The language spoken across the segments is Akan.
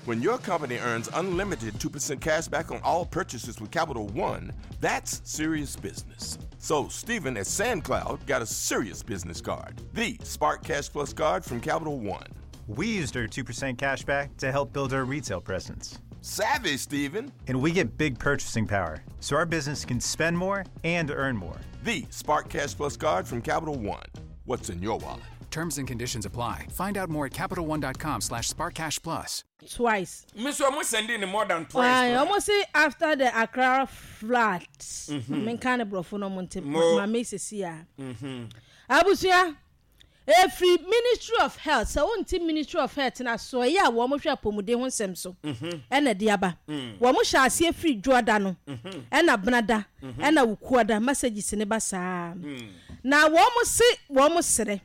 When your company earns unlimited 2% cash back on all purchases with Capital One, that's serious business. So, Steven at SandCloud got a serious business card the Spark Cash Plus card from Capital One. We used our 2% cash back to help build our retail presence. Savvy, Steven. And we get big purchasing power, so our business can spend more and earn more. The Spark Cash Plus card from Capital One. What's in your wallet? Terms and conditions apply. Find out more at CapitalOne.com slash SparkCashPlus. Twice. Me nso ɔmo sɛndee no more than twice Aye, koraa. ɔmo se after the Accra flood. Menka ne borɔfo no ɔmo nte Mo. ma me sisi a. Abusua, efiri Ministry of Health, sɛ wonte Ministry of Health no asoɛeɛ a wɔn hwɛ apɔmuden ho nsɛm so ɛna ɛde aba. Wɔn hyɛ aseɛ firi Dwoada no, ɛna Benada, ɛna Wukuada, messages no ba saa. Na wɔn se wɔn srɛ.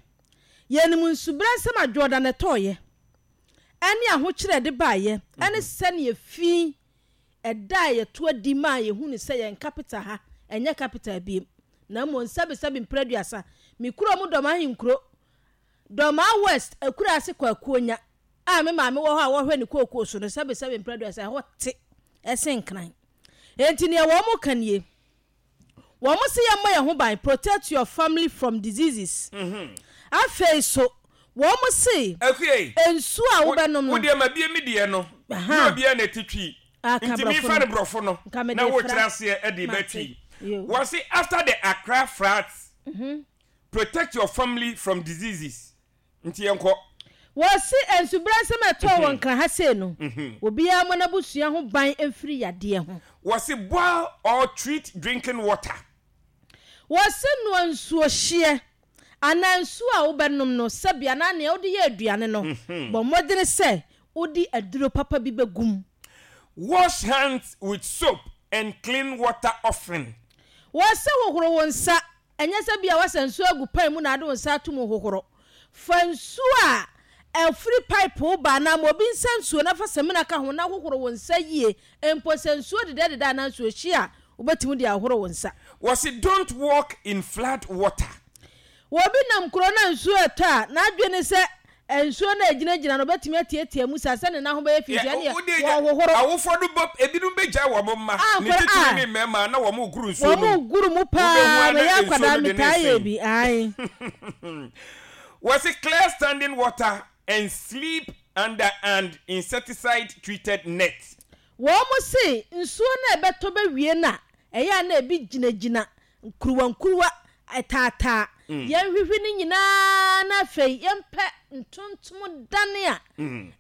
Yɛnim nsubrɛ nsɛm a Dwoada no ɛtɔɔeɛ. ɛne ahokyerɛ a ɛde baeɛ, ɛne sɛdeɛ fi ɛda a yɛto adi maa yɛhunu sɛ yɛn capital ha ɛnyɛ capital biem, na mmom sɛbesɛbe mprɛ aduasa, me kuro mu Dɔm Ahenkuro, Dɔmaa West akuraase Kwakuonya a me maame wɔ hɔ a wɔhwɛ ne kookoo so no, sɛbesɛbe mprɛ aduasa ɛhɔ te ɛsen Nkran. Enti neɛ wɔn ka nie. Wɔn se yɛmmɔ yɛn ho ban, protect your family from diseases. Afei so, wɔn se Akua nsuo a wobɛnom no. Wo deɛ mabie me deɛ no, nyɛ obiara na ɛte twi, Ah, ka nti borɔfo mefa no. no borɔfo no Nka mede na wokyerɛ fra. aseɛ de ba Mate. twi. Yo. Wɔse after the Accra floods, protect your family from diseases. Nti yɛnkɔ. Wɔse nsubrɛ nsɛm a ɛtɔɔ wɔ Nkran ha sei no, obiara mmɔ n'abusua ho ban mfiri yadeɛ ho. Wɔse boil or treat drinking water. Wɔse noa nsuo hyeɛ anaa nsuo a wobɛnom no sɛbi anaa nea wode yɛ aduane no, bɔ mmɔdene sɛ wode aduro papa bi bɛgu mu. Wash hands with soap and clean water often. Wɔse hohoro wo nsa Ɛnyɛ sɛ ebia woasa nsuo agu pan mu na ade wo nsa ato mu hohoro. Fa nsuo a ɛfiri pipe ba anaa ma obi nsa nsuo na fa samina ka ho na hohoro wo nsa yie. Mpo sɛ nsuo dedɛdedɛ anaa nsuo hye a, wobɛtumi de ahohoro wo nsa. Wɔse don't walk in flood water. Wɔ obi nam kuro no a nsuo retɔ a, n'adwene ne sɛ nsuo no a ɛgyinagyina no ɔbɛtumi atiatia mu saa sɛ ne nan ho bɛyɛ fi nti ɛnneɛ wɔnhohoro. Awofoɔ no bɔ ebinom bɛgyae wɔn mma, Ah, ne nkwadaa titiriw ah. ne mmarima na wɔn regoro nsuo no Wɔn mu. regoro mu Wobɛhu paa, ara na meyɛ nsuo akwadaa no de ne metaa yɛ resen. bi, ae. Wɔse clear standing water and sleep under an insecticide treated net. Wɔn se nsuo no a ɛbɛtɔ bɛwie no a, ɛyɛ a na ebi gyinagyina nkuruwa nkuruwa, ɛtaataa. Yɛnhwehwe ne nyinaa na afei yɛmpɛ ntontom dane a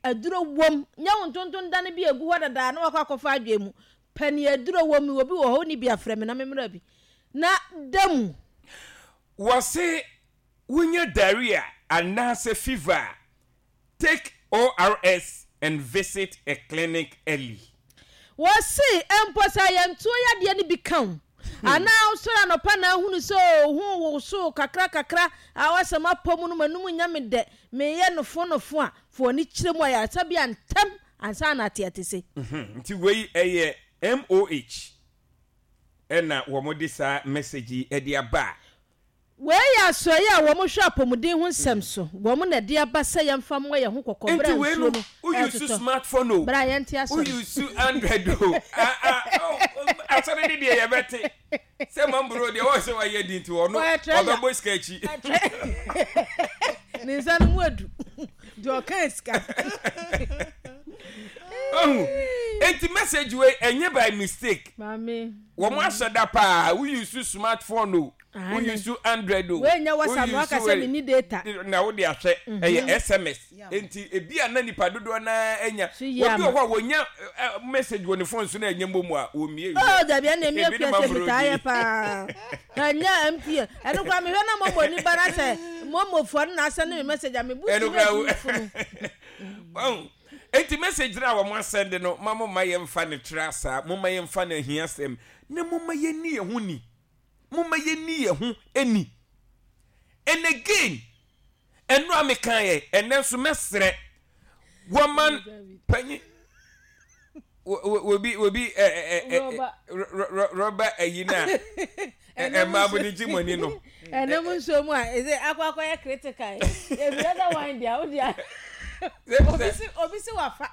aduro wom. Nyɛ wo ntontom dane bi a ɛgu hɔ dadaa na wakɔ akɔfa adwene mu. Pɛ nea aduro wom. Mewɔ bi wɔ hɔ, wonni bi a frɛ me na memmra bi na da mu. Wɔse wonya diarrhea anaasɛ fever a, Take ORS and visit a clinic early. Wɔse mpo sɛ ayamtuo yadeɛ no bi ka wo anaa wosɔre anɔpa na ahunu sɛ oo ho woso kakra kakra a woasɛ m'apɔ mu no m'anum nyɛ me dɛ meyɛ nofo nofo a, fa w'ani kyerɛ mu ayaresabea ntɛm ansa na ate atese. Nti wei ɛyɛ MOH ɛna wɔn de saa message yi ɛde aba a. Wei yɛ asoɛeɛ a wɔhwɛ apɔmuden ho nsɛm so. Wɔn na ɛde aba sɛ yɛmfa mmɔ yɛn ho kɔkɔ berɛ Nti a wei nsuo no, no wo use retotɔ. smartphone o, Berɛ a yɛnte wo asɔre. use Android o, ah ah oh, asɔre ne deɛ yɛbɛte. Sɛ mambro deɛ wɔn sɛ wayɛ di nti ɔno Ɔyɛ treasure. ɔbɛbɔ sika akyi. Ne nsa no mu adu. Deɛ ɔka sika. Ohu, enti message wei ɛnyɛ by mistake. Maame. Wɔn ahyɛ da paa, wo use smartphone o, wo use Android o, Wei nyɛ wo WhatsApp na use waka sɛ wei menni data. na wode ahwɛ, ɛyɛ SMS. Enti ebi a na nipa dodoɔ no ara anya. So yie Obi ama. wɔ hɔ a wɔnya eh, eh, message wɔ ne phone so na ɛnyɛ mmom a, wɔmmie Oh, wiɛ. dabi ɛna emi Ebi akua ne sɛ mambro metaa di. yɛ paa. Ɛnyɛ MTN. Ɛno koraa mehwɛ na momo ni ba na sɛ momofoɔ no na asɛnde me message a mebu Ɛno ti koraa wo na funu. Wahu? Enti message no a wɔn asɛnde no, ma momma yɛmfa no tra saa, momma yɛmfa no ahiasɛm, na momma yɛnni yɛn ho ni. Momma yɛnni yɛn ho ni. And again, ɛno a mekaeɛ, ɛnɛ nso mɛsrɛ wɔman panyin obi obi ɛ ɛ ɛ rɔba ayi no a ɛmaa mo de gye mo ani no. Ɛnam nsuo mu a ɛsɛ akɔ akɔyɛ critical ebi ɛda wine deɛ o deɛ obi si obi si wafa.